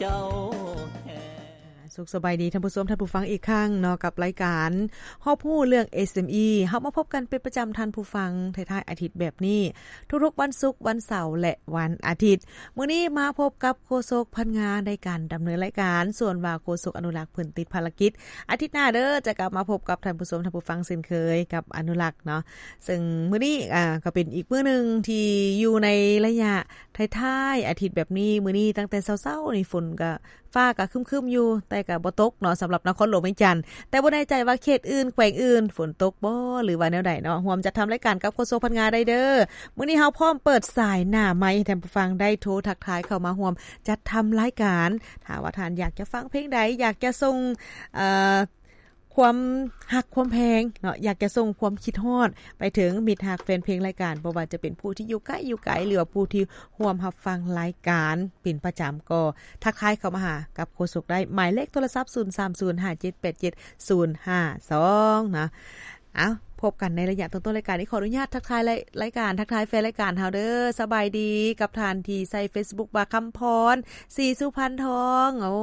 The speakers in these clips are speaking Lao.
ເຈົ້າແທ້. ສຸກສະບາຍດີທ່ານຜູ້ຊົມ ທ່ານຜູ້ຟັງອີກຄັ້ງເນາະ ກັບລາຍການຮອບຮູ້ເລື່ອງ ເອັສເອັມອີ ເຮົາມາພົບກັນເປັນປະຈຳທ່ານຜູ້ຟັງ ທ້າຍໆອາທິດແບບນີ້ ທຸກໆວັນສຸກ, ວັນເສົາ ແລະ ວັນອາທິດ. ມື້ນີ້ມາພົບກັບໂຄສົກພັນງາໃນການດຳເນີນລາຍການ, ສ່ວນວ່າໂຄສົກອະນຸລັກເພິ່ນຕິດພາລະກິດ. ອາທິດໜ້າເດີ ຈະກັບມາພົບກັບທ່ານຜູ້ຊົມ ທ່ານຜູ້ຟັງເຊັ່ນເຄີຍກັບອະນຸລັກເນາະ. ເຊິ່ງມື້ນີ້ ອາ ກໍເປັນອີກມື້ໜຶ່ງທີ່ຢູ່ໃນໄລຍະທ້າຍໆອາທິດແບບນີ້. ມື້ນີ້ຕັ້ງແຕ່ເຊົ້າໆນີ້ ຝົນກໍ ຟ້າກໍຄຶ້ມໆຢູ່ ແຕ່ກໍບໍ່ຕົກເນາະ ສຳລັບນະຄອນຫຼວງວຽງຈັນ. ແຕ່ບໍ່ແນ່ໃຈວ່າເຂດອື່ນ ແຂວງອື່ນ ຝົນຕົກບໍ່ ຫຼືວ່າແນວໃດເນາະ. ຮ່ວມຈັດທຳລາຍການກັບໂຄສົກພັນງາໄດ້ເດີ. ມື້ນີ້ເຮົາພ້ອມເປີດສາຍໜ້າໄມໃຫ້ທ່ານຜູ້ຟັງໄດ້ໂທທັກທາຍເຂົ້າມາຮ່ວມຈັດທຳລາຍການ. ຖ້າວ່າທ່ານຢາກຈະຟັງເພງໃດ, ຢາກຈະສົ່ງ ເອີ ຄວາມຮັກຄວາມແພງເນາະ, ຢາກຈະສົ່ງຄວາມຄິດຮອດໄປເຖິງມິດຮັກແຟນເພງລາຍການ, ບໍ່ວ່າຈະເປັນຜູ້ທີ່ຢູ່ໃກ້ຢູ່ໄກ ຫຼືວ່າຜູ້ທີ່ຮ່ວມຮັບຟັງລາຍການເປັນປະຈຳ, ກໍທັກທາຍເຂົ້າມາຫາກັບໂຄສົກໄດ້. ໝາຍເລກໂທລະສັບ ສູນສາມສູນຫ້າເຈັດແປດເຈັດສູນຫ້າສອງ ນະ. ເອົາ ພົບກັນໃນໄລຍະຕົ້ນໆລາຍການ. ນີ້ຂໍອະນຸຍາດທັກທາຍລາຍ ລາຍການ, ທັກທາຍແຟນລາຍການເຮົາເດີ. ສະບາຍດີກັບທ່ານທີ່ໃຊ້ເຟສບຸກວ່າ ຄຳພອນ ສີສຸພັນທອງ. ໂອ້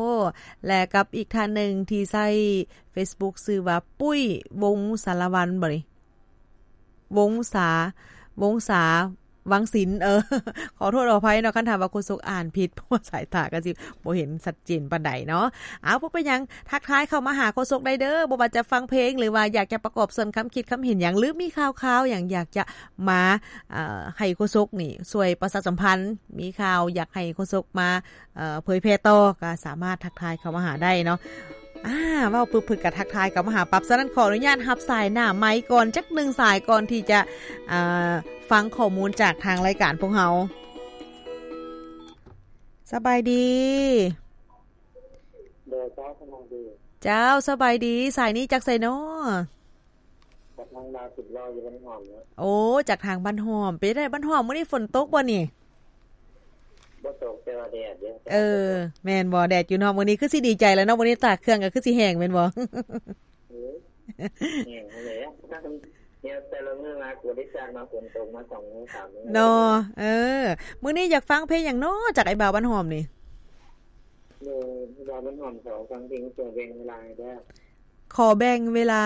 ແລະ ກັບອີກທ່ານໜຶ່ງທີ່ໃຊ້ ເຟສບຸກຊື່ວ່າ ປຸ້ຍ ວົງສາລະວັນ ບໍ່ນີ້? ວົງສາ ວົງສາ ວັງສິນ. ເອີ ຂໍໂທດຂໍອະໄພເນາະ ຄັນຖ້າວ່າໂຄສົກອ່ານຜິດ ເພາະວ່າສາຍຕາກໍຊິບໍ່ເຫັນຊັດເຈນປານໃດເນາະ. ເອົາ ບໍ່ເປັນຫຍັງ ທັກທາຍເຂົ້າມາຫາໂຄສົກໄດ້ເດີ. ບໍ່ວ່າຈະຟັງເພງ ຫຼືວ່າຢາກຈະປະກອບສ່ວນຄຳຄິດຄຳເຫັນຫຍັງ ຫຼືມີຂ່າວໆຫຍັງ ຢາກຈະມາ ເອີ ໃຫ້ໂຄສົກນີ້ຊ່ວຍປະຊາສຳພັນ, ມີຂ່າວຢາກໃຫ້ໂຄສົກມາ ເອີ ເຜີຍແຜ່ຕໍ່ ກໍສາມາດທັກທາຍເຂົ້າມາຫາໄດ້ເນາະ. ອາ ເວົ້າປຶບເພິ່ນກໍທັກທາຍເຂົ້າມາຫາປັບ. ສະນັ້ນ ຂໍອະນຸຍາດຮັບສາຍໜ້າໄມກ່ອນຈັກໜຶ່ງສາຍ ກ່ອນທີ່ຈະ ອາ ຟັງຂໍ້ມູນຈາກທາງລາຍການພວກເຮົາ. ສະບາຍດີ. ໂດຍ ເຈົ້າ ສະບາຍດີ. ເຈົ້າ ສະບາຍດີ. ສາຍນີ້ຈາກໃສນໍ? ຈາກທາງດາວສິບລໍ້ຢູ່ບ້ານຫອມເນາະ. ໂອ້ ຈາກທາງບ້ານຫອມ. ເປັນໃດບ້ານຫອມ ມື້ນີ້ຝົນຕົກບໍ່ນີ້? ບໍ່ຕົກ ແຕ່ວ່າແດດເດ້. ເອີ ແມ່ນບໍ່? ແດດຢູ່ເນາະ. ມື້ນີ້ຄືຊິດີໃຈແລ້ວເນາະ, ມື້ນີ້ຕາກເຄື່ອງກໍຄືຊິແຫ້ງແມ່ນບໍ່? ເອີ ແຫ້ງຫັ້ນແຫຼະ. ແຕ່ລະມື້ມາກໍໄດ້ສ້າງມາຝົນຕົກມາສອງມື້ສາມມື້ເນາະ. ເອີ ມື້ນີ້ຢາກຟັງເພງຫຍັງເນາະ ຈາກອ້າຍບ່າວບ້ານຫອມນີ້? ໂດຍ ບ່າວບ້ານຫອມຂໍຟັງເພງຊ່ວຍແບ່ງເວລາໃຫ້ແດ່. ຂໍແບ່ງເວລາ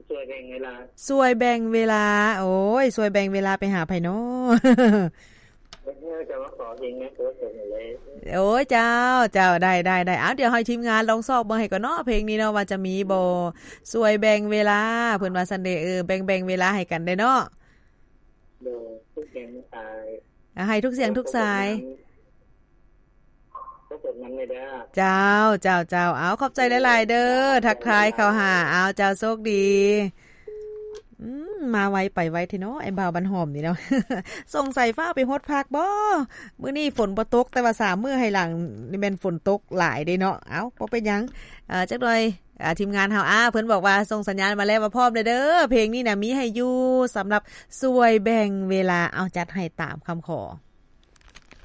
ຊ່ວຍແບ່ງເວລາ ຊ່ວຍແບ່ງເວລາ. ໂອ້ຍ ຊ່ວຍແບ່ງເວລາໄປຫາໃຜນໍ? ເອີ ຈະມາຂໍເພງໃນໂຄສົກນີ້ເລີຍ. ໂອ້ຍ ເຈົ້າ ເຈົ້າ ໄດ້ ໄດ້ ໄດ້. ເອົາ ດຽວໃຫ້ທີມງານລອງຊອກເບິ່ງໃຫ້ກ່ອນເນາະ ເພງນີ້ເນາະ ວ່າຈະມີບໍ່. ໂດຍ ຊ່ວຍແບ່ງເວລາ ເພິ່ນວ່າຊັ້ນເດ. ເອີ ແບ່ງ ແບ່ງເວລາໃຫ້ກັນໄດ້ເນາະ. ໂດຍ ທຸກສຽງທຸກສາຍ ໃຫ້ທຸກສຽງທຸກສາຍ. ເຈົ້າ ເຈົ້າ ເຈົ້າ. ເອົາ ຂອບໃຈຫຼາຍໆເດີ ທັກທາຍເຂົ້າຫາ. ເອົາ ເຈົ້າ ໂຊກດີ. ອືມ ມາໄວໄປໄວແທ້ເນາະ ອ້າຍບ່າວບ້ານຫອມນີ້ເນາະ. ສົງໄສຟ້າວໄປຫົດຜັກບໍ? ມື້ນີ້ຝົນບໍ່ຕົກ ແຕ່ວ່າສາມມື້ໃຫ້ຫຼັງນີ້ແມ່ນຝົນຕົກຫຼາຍເດ້ເນາະ. ເອົາ ບໍ່ເປັນຫຍັງ ເອີ ຈັກໜ່ອຍ ອາ ທີມງານເຮົາ ອາ ເພິ່ນບອກວ່າສົ່ງສັນຍານມາແລ້ວວ່າພ້ອມແລ້ວເດີ. ເພງນີ້ນະມີໃຫ້ຢູ່ ສຳລັບຊ່ວຍແບ່ງເວລາ. ເອົາ ຈັດໃຫ້ຕາມຄຳຂໍ.